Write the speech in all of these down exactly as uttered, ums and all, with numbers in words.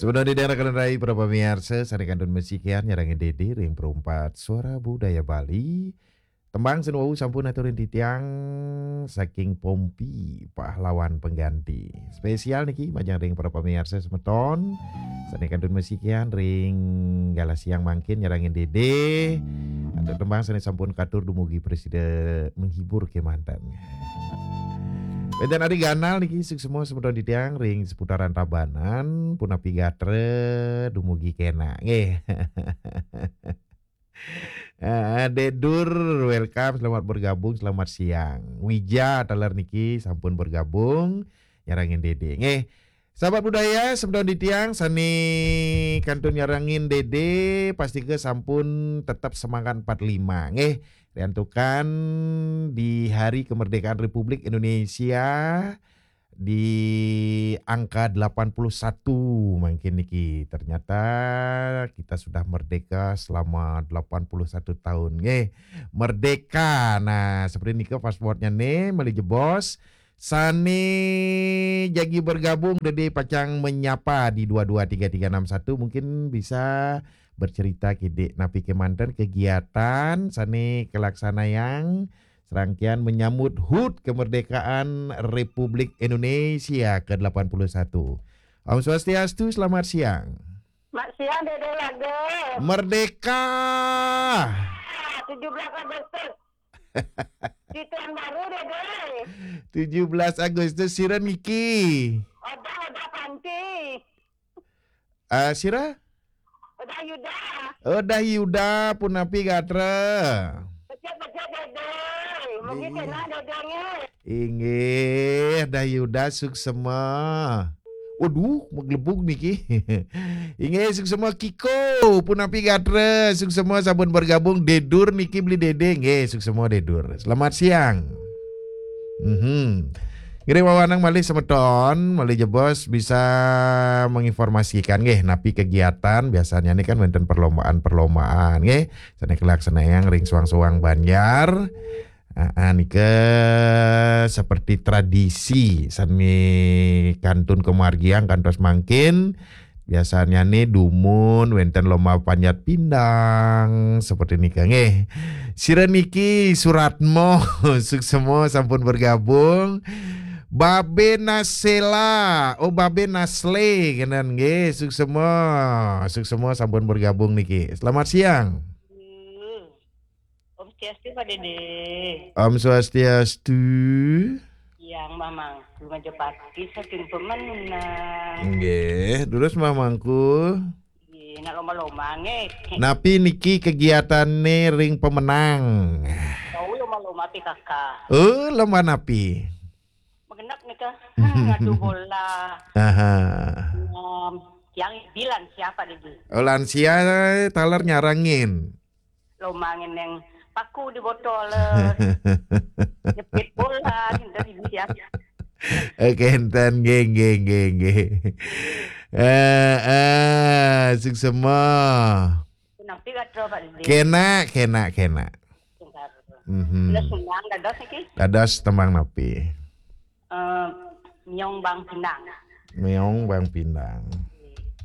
Semeton titiang rakan rai para pamiarsa, sané kantun masikian nyarengin Dédé ring Perumpat Suara Budaya Bali. Tembang sane wau sampun aturin titiang saking Pompi, Pahlawan Pengganti. Spesial niki majeng ring para pamiarsa semeton, sané kantun masikian ring galah siang mangkin nyarengin Dédé. Antuk tembang sané sampun katur dumugi prasida menghibur kemanten. Wénten Ari Ganal niki, suksma semeton titiang ring seputaran Tabanan, punapi gatra dumugi kénak. Nggih. Ah, Dédur, welcome, selamat bergabung, selamat siang. Wija taler niki sampun bergabung, nyarengin Dédé. Nggih. Sahabat budaya, semeton titiang sané kantun nyarengin Dédé, pastika sampun tetep semangat empat lima, nggih. Riantukan di Hari Kemerdekaan Republik Indonesia di angka delapan puluh satu mangkin niki. Ternyata kita sudah merdeka selama delapan puluh satu tahun, nggih. Merdeka. Nah, seperti nika passwordnya nih, malih jebos. Sané jagi bergabung, Dédé pacang menyapa di dua dua tiga tiga enam satu, mungkin bisa bercerita kidik napi kemanten kegiatan sané kalaksanayang serangkaian menyambut hut kemerdekaan Republik Indonesia ke delapan puluh satu. Om Swastiastu, selamat siang. Mak siang, Dédé Lage. Merdeka. Ah, tujuh belas Agustus. Di tahun baru, Dédé. Tujuh belas Agustus, sira niki? Odah, Odah Panti. Ah, sira? Odah Yuda. Odah Yuda, punapi gatra? Becik-becik, Dédé. Mugi Iya. Kénak, Dédé, nggih. Inggih, Dah Yuda suksma. Waduh, maglebug niki. Inggih, suksma Kiko, punapi gatra, suksma sampun bergabung, Dédur niki beli Dédé, nggih, suksma Dédur. Selamat siang. Mhm. Ngiring wewenang malih semeton, malih jebos bisa menginformasikan nggih, napi kegiatan biasanya nih kan wénten perlombaan-perlombaan nggih. Sané kalaksanayang ring suang-suang banjar. Ah, ah, nika seperti tradisi sané kantun kamargiang kantos mangkin. Biasanya nih dumun wénten lomba panjat pindang seperti nika nggih. Sira niki Suratmo, suksma sampun bergabung. Babe Nasela, oh Babe Nasle kenen nggih, suksma. Suksma sampun bergabung niki. Selamat siang. Hmm. Om Swastiastu, Pak Dédé. Om Swastiastu. Yang Mamangku Majapahit saking Pemenang. Nggih, terus Mamangku. Nggih, nak lomba-lomba nggih. Napi niki kegiatane ring Pemenang? Tahu lomba-lomba P K K. Oh, lomba napi? Magenep nika. Ngadu bola. Aha. Em, yang bilang siapa, Dédé? Oh, lansia taler nyarengin. Lomba ngeneng paku di botol, eh, jepit bola, gitu, gitu ya. Eh, kenten, nggih, nggih, nggih, nggih. Eh, eh, suksma. Napi gatra, Pak Dédé? Kena, kena, kena. Sebentar. Mhm. Sudah senang, dados niki? Dados tembang napi? Eh, Miong Bang Pindang. Miong Bang Pindang.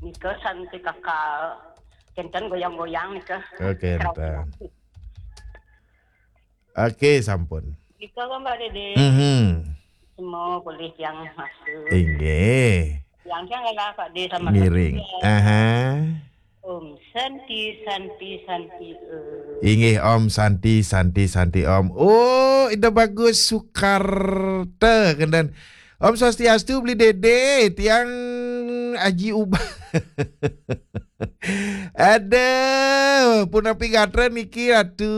Nika santi kakak kenten goyang-goyang nika. Oke, kenten. Oke, sampun. Nika kan, Pak Dédé. Mhm. Semua boleh yang masuk. Inggih. Yang yang lah, Pak Dédé, sama ngiring. Aha. Om Santi, Santi, Santi, eh. Inggih, Om Santi, Santi, Santi, Om. Oh, Ida Bagus Sukarta, kenten. Om Swastiastu, Beli Dédé, tiang Aji Uban. Aduh, punapi gatra niki, Ratu.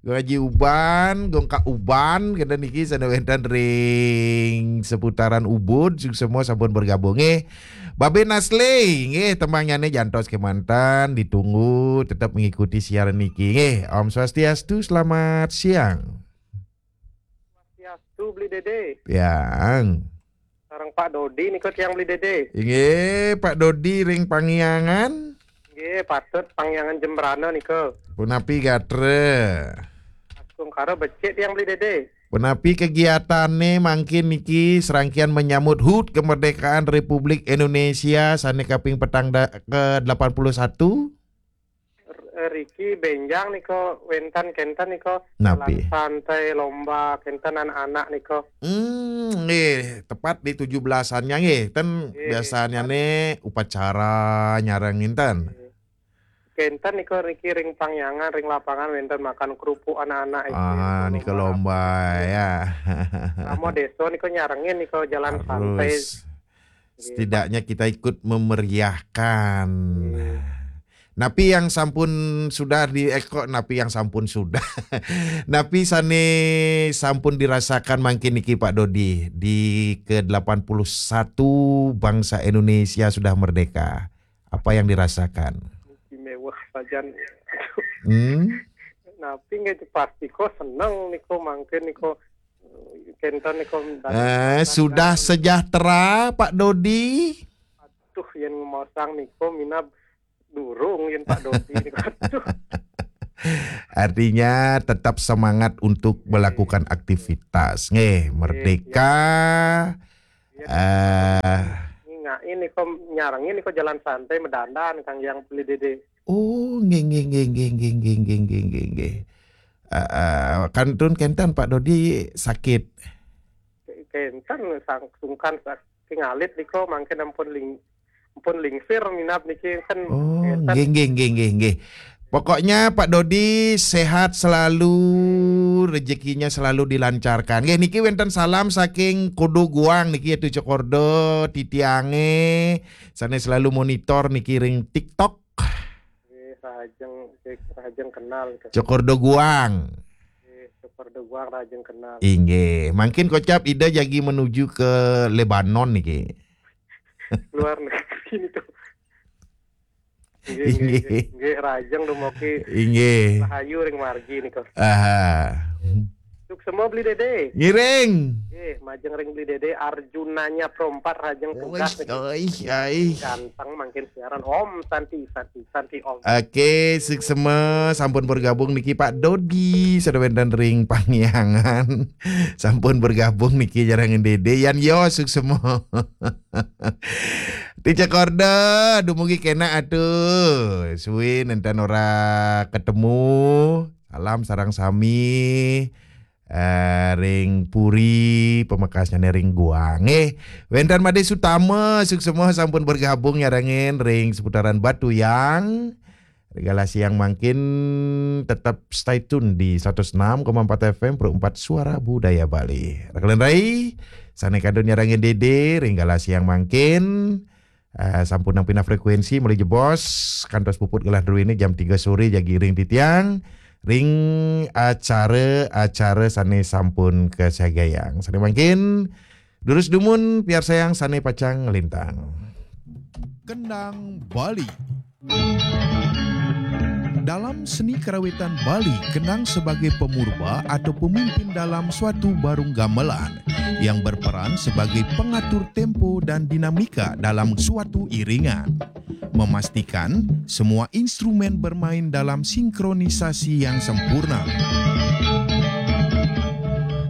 Gong Aji Uban, Gong Kak Uban, kenten niki sane wenten ring seputaran Ubud, suksma sampun bergabung, eh. Babe Nasle, nggih, tembangnyane jantos kemanten, ditunggu, tetap mengikuti siaran niki, nggih. Om Swastiastu, selamat siang. Swastiastu, Beli Dédé. Yang. Sareng Pak Dodi nika tiang, Beli Dédé. Inggih, Pak Dodi ring Pangiangan. Nggih, patut Pangiangan Jembrana nika. Punapi gatra? Astungkara becik tiang, Beli Dédé. Punapi kegiatanné mangkin niki serangkian menyambut hut kemerdekaan Republik Indonesia sané kaping petang da-, ke delapan puluh satu? Riki bénjang nika wénten kénten nika Napi? Jalan santai lomba kénten anak-anak nika. Hmm, nggih, tepat di tujuh belasannya nggih. Ten Nggih. Biasanya né upacara nyareng nginten. Kénten nika riki ring pangyangan ring lapangan wénten makan kerupuk anak-anak itu. Ah, nika lomba ya. Sama desa nika nyarengin nika jalan santai. Harus. Setidaknya kita ikut memeriahkan. Napi yang sampun sudah di eh, kok napi yang sampun sudah. Napi sané sampun dirasakan mangkin niki Pak Dodi di ke delapan puluh satu bangsa Indonesia sudah merdeka. Apa yang dirasakan? Istimewa sajan. Hmm? Napi nggih pasti kok seneng nika mangkin nika kénten nika. Eh, sudah sejahtera Pak Dodi? Tuh yang ngomong nika minab durung yang Pak Dodi nika. Aduh. Artinya tetap semangat untuk melakukan aktivitas. Nggih, merdeka. Eh, Ngingakin nika nyarengin nika jalan santai medandan kang yang beli dede. Oh, nggih nggih nggih nggih nggih nggih nggih nggih nggih. Eh, eh, kantun kénten Pak Dodi sakit. Kénten sang sungkan saking alit nika mangkin ampun ling ampun lingsir minab niki kan Oh, kénten. nggih nggih nggih nggih nggih. Pokoknya Pak Dodi sehat selalu, rezekinya selalu dilancarkan. Nggih niki wénten salam saking Kodo Guang niki yaitu Cokordo titiangé sané selalu monitor niki ring TikTok. Nggih, rahajeng nggih, rahajeng kenal gitu. Cokordo Guang. Nggih, Cokordo Guang rahajeng kenal. Inggih, mangkin kocap Ida jagi menuju ke Lebanon niki. Luar negeri niku. Nggih, Inggih. nggih, nggih, rahajeng dumugi Inggih. rahayu ring margi niku. Aha. Suksma beli dede. Ngiring. Nggih, majeng ring beli dede Arjunanya Prompat rahajeng tugas niki. Oih, oih. Ganteng mangkin siaran Om Santi Santi Santi Om. Oke, suksma sampun bergabung niki Pak Dodi, sada wénten ring pangyangan. Sampun bergabung niki nyarengin Dede. Yan yo suksma. Ti Cokordo, dumugi kénak atuh. Suwi nénten ora ketemu. Salam sareng sami. Eh, ring Puri, pamekasnyané ring Guang. Eh, wénten Madé Sutama, suksma sampun bergabung nyarengin ring seputaran Batuyang. Ring galah siang mangkin tetap stay tune di seratus enam koma empat F M Pro empat Suara Budaya Bali. Rakelan rai, sané kantun nyarengin Dede, ring galah siang mangkin. Eh, sampun nang pinah frekuensi, mulai jebos, kantos puput galah druéné jam tiga sore jagi ring titiang, ring acara-acara sané sampun kasagayang. Sané mangkin, durus dumun, piarsayang sané pacang nglintang. Kendang Bali. Dalam seni karawitan Bali, kendang sebagai pemurba atau pemimpin dalam suatu barung gamelan yang berperan sebagai pengatur tempo dan dinamika dalam suatu iringan. Memastikan semua instrumen bermain dalam sinkronisasi yang sempurna.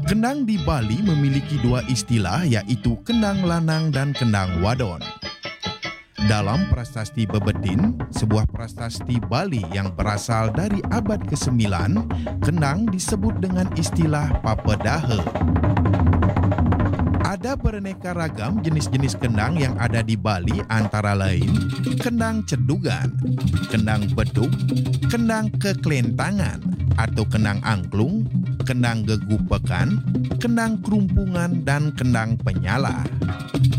Kendang di Bali memiliki dua istilah, yaitu kendang lanang dan kendang wadon. Dalam prasasti Bebetin, sebuah prasasti Bali yang berasal dari abad kesembilan, kendang disebut dengan istilah papedahe. Ada beraneka ragam jenis-jenis kendang yang ada di Bali, antara lain kendang cedugan, kendang beduk, kendang keklentangan atau kendang angklung, kendang gegupekan, kendang kerumpungan, dan kendang penyala.